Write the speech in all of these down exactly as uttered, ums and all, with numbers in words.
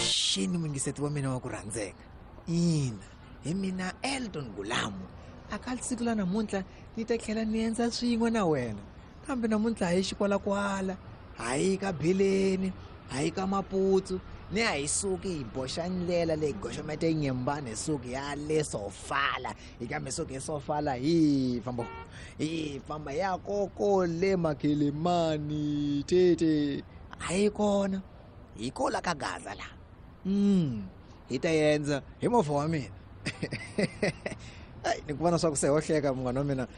Avuxeni muyingiseti wa mina wa ku rhandzeka. Ina, hi mina Elton Gulamu. Aka siku la namuntlha ni ta tlhela ni endza swin'we na wena. Kambe namuntlha hi xikwalakwala, hayi ka Bileni, hayi ka Maputsu, ni a hi suki hi boxa ndlela leyi goxomete nyembani hi suki ya le Sofala. Hi kambe suki hi Sofala hi famba hi famba ya koko le Makhelemani tete. Hayi kona. Hi kola ka Gaza la. Mm, hi ta endza hi movha wa mina. Ai, ni ku vona swa ku se hohleka munghana wa mina.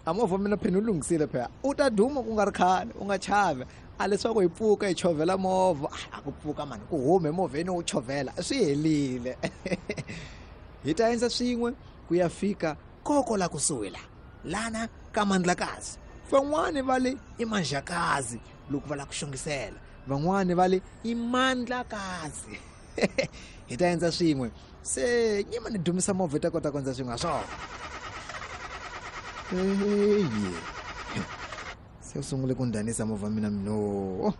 A movha wa mina phela u lunghisile phela. U ta duma ku nga ri khale, u nga chavi. A leswaku hi pfuka hi chovhela movha. A ku pfuka mani, ku hume movheni u chovhela, swi helile. Hi ta endza swin'we ku ya fika koko la kusuhi la. Lana ka Mandlakazi. Van'wani va le i Manjakazi loko va la ku xongisela. Van'wani va le i Mandlakazi. Hi ta endza swin'we. Se nyima ni dumisa movha hi ta kota ku endza swin'we ha swona. Eyi. Se u sungule ku ndhanisa movha mina mino.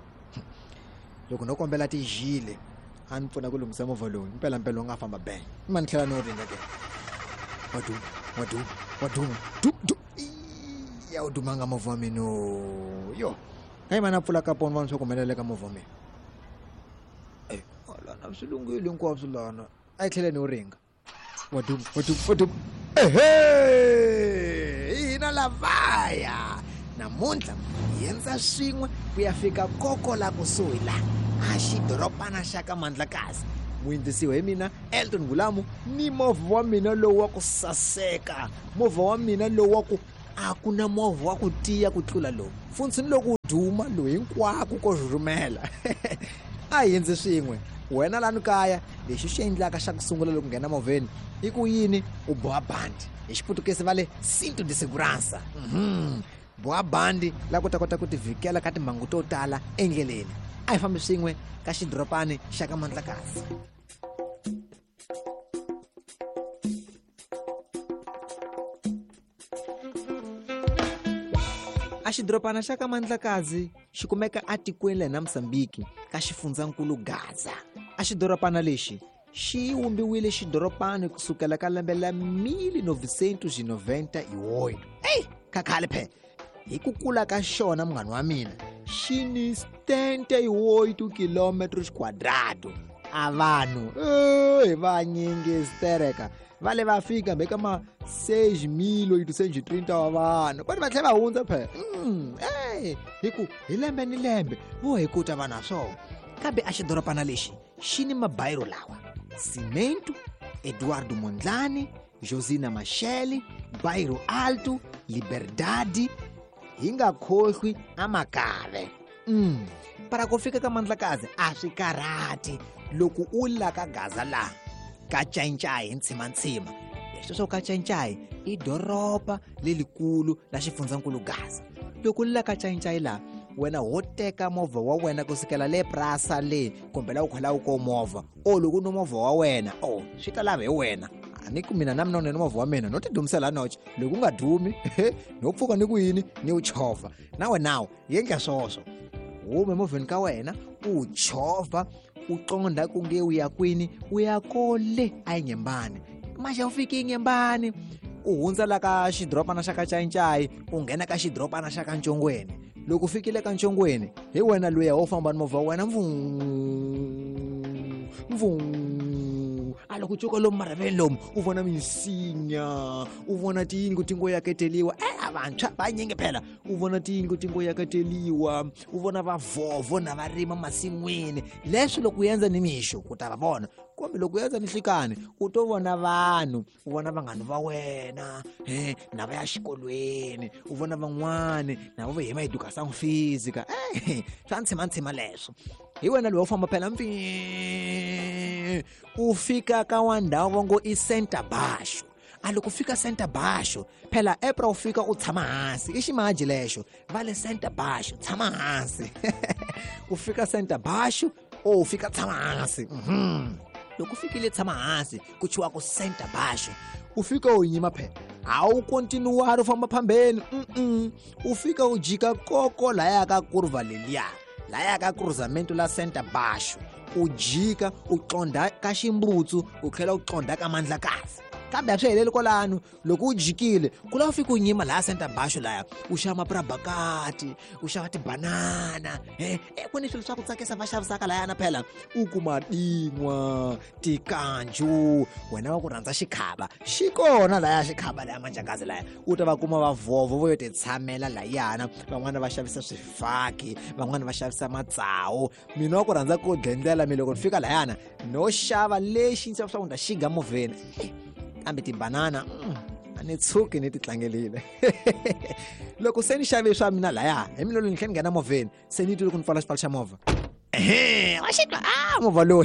Loko no kombela tijile a ni pfuna ku lunghisa movha lowu, mpela mpela u nga famba bang. Ma ni tlhela ni wu ringa ke. Wa duma, wa duma, wa duma. Du, du. Ya u dumanga movha wa mina. Yo. Hayi mana pfula kaponi vona swa ku humelela ka movha wa mina. Eh, lana swi lunghile hinkwaswo lana. A hi tlhele ni wu ringa. Wa duma, wa duma, wa duma. Ehe! Hina lavaya. Namuntlha hi endza swin'we ku ya fika koko la kusuhi la. A xidorobana xa ka Mandlakazi. Muyindzisiwa hi mina Elton Gulamu ni movha wa mina lowu wa ku saseka. Movha wa mina lowu wa ku a ku na movha wa ku tiya ku tlula lowu. Mfundhisi loko u duma lowu hinkwako ko rhurhumela. A hi endze swin'we. Wena lani kaya, lexi xi endlaka xa ku sungula loko nghena movheni i ku yini? U boha bandi. Hi xiputukezi va le cinto de segurança. Mhm. Boha bandi la ku ta kota ku tivhikela ka timhangu to tala endleleni. A hi fambi swin'we ka xidorobani xa ka Mandlakazi. A xidorobana xa ka Mandlakazi xi kumeka atikweni la na Mozambique ka xifundzankulu Gaza. A xidorobana lexi xi wumbiwile xidorobani kusukela ka lembe la mil novecentos e noventa e oito. Ei, ka khale phela. Hi ku kula ka xona munghana wa mina, xi ni setenta e oito quilômetros quadrados. A vanhu, eh, vanyingi stereka. Va le va fika hambi ka ma seis mil oitocentos e trinta wa vanhu. Kwani va tlhela va hundza phela. Mm, eh, hi ku hi lembe ni lembe vo hi kuta vanhu ha swona. Kambe a xidorobana lexi xi ni mabayiro lawa: Cimento, Eduardo Mondlane, Josina Machel, Bairro Alto, Liberdade, hi nga khohlwi amakave. Mm. Para ku fika ka Mandlakazi a swi karhati loko u la ka Gaza la ka Ncaincayi hi ntshimantsima. Leswi swo ka Ncaincayi i doroba lelikulu la xifundzankulu Gaza. Loko u la ka Ncaincayi la, wena ho teka movha wa wena kusukela le Prasa le kumbe la u khola u ko movha. O loko u no movha wa wena, o swi ta lava hi wena. A ni ku mina na mina ni movha wa mina no ti dumisela noche. Loko u nga dumi, no pfuka ni ku yini ni u chovha. Na wena yendla swoswo. Hume movheni ka wena u chovha, u qonda ku nge u ya kwini, u ya kole a Nyembani. Maxa u fiki Nyembani, u hundza la ka xidorobana xa ka Ncaincayi, u nghena ka xidorobana xa ka Ntshongweni. Loko u fikile ka Ntshongweni, hi wena luya wo famba ni movha wa wena mvuu, mvuu. A loko u cuka lomu marhaveni lomu, u vona minsinya, u vona tiyindlu ti ngo yaketeliwa. Eh, a vantshwa vanyingi phela. U vona tiyindlu ti ngo yaketeliwa, u vona vavhovho na va rima masin'wini. Leswi loko u endza ni mixo ku ta va vona, kumbe loko u endza ni nhlikani u to vona vanhu, u vona vanghana va wena, eh, na va ya xikolweni, u vona van'wani na va hima education física. Eh, swa ntshimantsima leswo. Hi wena loyi u famba phela mpfi, u fika ka wa ndhawu va ngo i Center Basho. A loko u fika Center Basho phela epra u fika u tshama hansi, i ximaji lexo va le Center Basho, tshama hansi. U fika Center Basho, o u fika tshama hansi. Mhm. Loko u fikile tshama hansi ku chiwa ku Center Basho, u fika u yima phela, a wu kontinuwari u famba phambeni. Mm-mm. U fika u jika koko laya ka kurva leliya. Laya ka cruzamento la Center Basho u jika u qonda ka Ximbutsu u tlhela u qonda ka Mandlakazi. Kambe a swi heleli kwalano, loko u jikile ku lava u fika u nyima laha Center Basho laya u xava mapurabakati, u xava tibanana, eh ku ni swilo swa ku tsakisa va xavisaka layana phela u kuma din'wa, tikanju, wena wa ku rhandza xikhava xi kona laya xikhava laya Manjakazi laya u ta va kuma va vovo vo yo ti tshamela layana, van'wana va xavisa swifaki, van'wana va xavisa matsawu. Mina wa ku rhandza ku dlendlela mi loko ni fika layana no xava lexi ndzi swa ku nda xiga movheni, kambe tibanana a ni tshuki ni ti tlangelile. Loko se ni xave swa mina laya hi mina loko ni tlhela ni nghena movheni se ni twi loko ni pfala xipfalo xa movha, ehe wa xi twa a movha lowu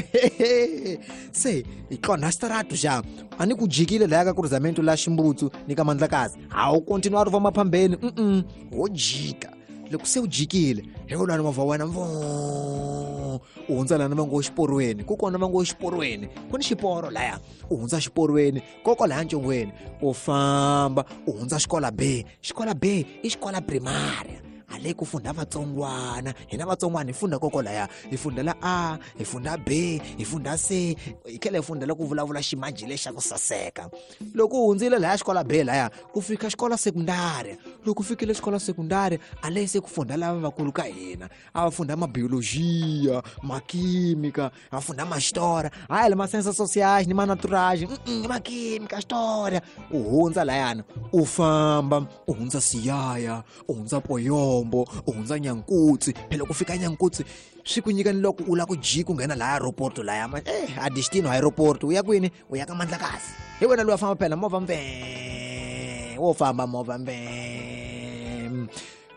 se hi qonda xitarato xa a ni ku jikile laya ka cruzamento la Ximbutsu ni ka Mandlakazi, a wu continue ri famba phambeni, mm wo jika. Loko se u jikile hi wulani movha wena mvo u hundza lana va ngo xiporweni, ku kona va ngo xiporweni ku ni xiporo laya, u hundza xiporweni koko laya ncongweni u famba u hundza xikola B. Xikola B i xikola primaria, a le ku funda vatsongwana, hina vatsongwana hi funda koko laya, hi fundela A, hi funda B, hi funda C, hi tlhela hi fundela ku vulavula ximaji lexa ku saseka. Loko u hundzile laya xikola B laya ku fika xikola sekundari, loko u fikile xikola sekundari a le se ku funda lava vakulu ka hina, a va funda mabiologia, makimika, va funda maxitora, hayi le ma-sciences sociales ni ma-naturage, makimika, xitora. U hundza layana u famba u hundza Siyaya, u hundza Poyombo, u hundza Nyankutsi. Phela ku fika Nyankutsi swi ku nyika ni loko u lava ku jika u nghena laya aeroporto laya ma eh a destino aeroporto u ya kwini, u ya ka Mandlakazi. Hi wena loyi a famba phela movha mve wo famba movha mve.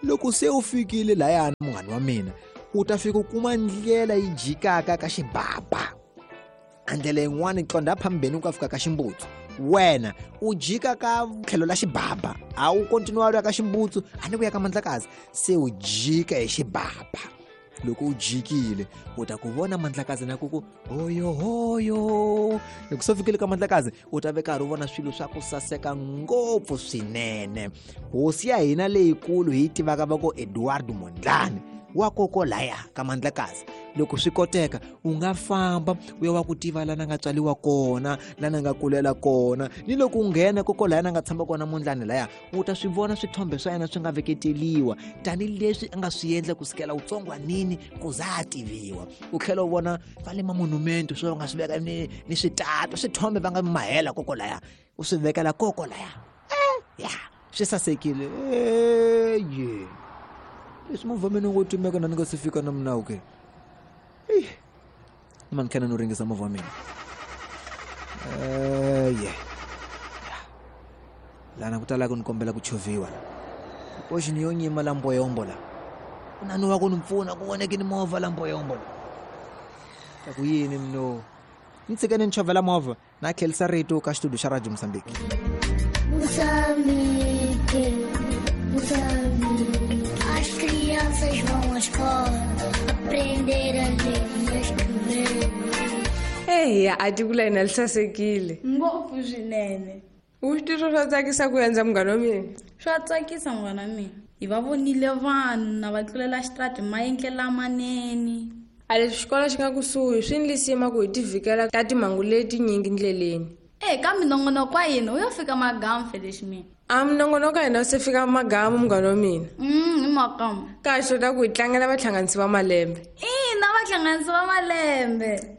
Loko se u fikile layana munghana wa mina u ta fika u kuma ndlela yi jikaka ka Xibaba, a ndlela yin'wana yi qonda phambeni u ka fika ka Ximbutsu, wena u jika ka tlhelo la Xibaba, a wu continue u ya ka Ximbutsu a ni ku ya ka Mandlakazi, se u jika hi Xibaba. Loko u jikile u ta ku vona Mandlakazi na ku ku hoyo hoyo. Loko se u fikile ka Mandlakazi u ta ve karhi u vona swilo swa ku saseka ngopfu swinene. Hosi ya hina leyikulu hi yi tivaka va ku Eduardo Mondlane wa koko laya ka Mandlakazi. Loko swi koteka u nga famba u ya wa ku tiva lana nga tswaliwa kona, lana nga kulela kona, ni loko u nghena koko laya na nga tshama kona Mondlane laya u ta swi vona swithombe swa yena swi nga veketeliwa tanihileswi a nga swi endla kusukela utsongwanini ku za a tiviwa. U tlhela u vona va le mamonumento swo va nga swi veka ni ni switato swithombe va nga mahela koko laya u swi vekela koko laya, eh ya swi sasekile. Eye leswi movha mina ngo timeka na ni nga se fika na minawu ke eyi ma ni tlhela no ringisa movha wa mina eye lana ku tala ku ni kombela ku chovhiwa poxi ni yo nyima la Mboyombo la ku na ni wa ku ni pfuna ku voneke ni movha la Mboyombo la ta ku yini mino ni tshike ni chovhela movha na tlhelisa rito ka xitudio xa Radio Mozambique. Moçambique, Moçambique, as crianças vão à escola aprender a ler e a escrever. Eya, a tiko la hina li sasekile ngopfu swinene. U swi tirho swa tsakisa ku endza munghana wa mina? Swa tsakisa munghana wa mina. Hi va vonile vanhu na va tlulela xitrati maendle lamanene. A leswi xikolo xi nga kusuhi swi ni lisima ku hi ti vhikela ka timhangu letinyingi ndleleni. E ka minongonoko wa hina u yo fika magamu felexi mina. A minongonoko wa hina u se fika magamu munghana wa mina. Mm, hi makamu. Kahle ta ku hi tlangela vahlanganisi va malembe. Ina, vahlanganisi va malembe.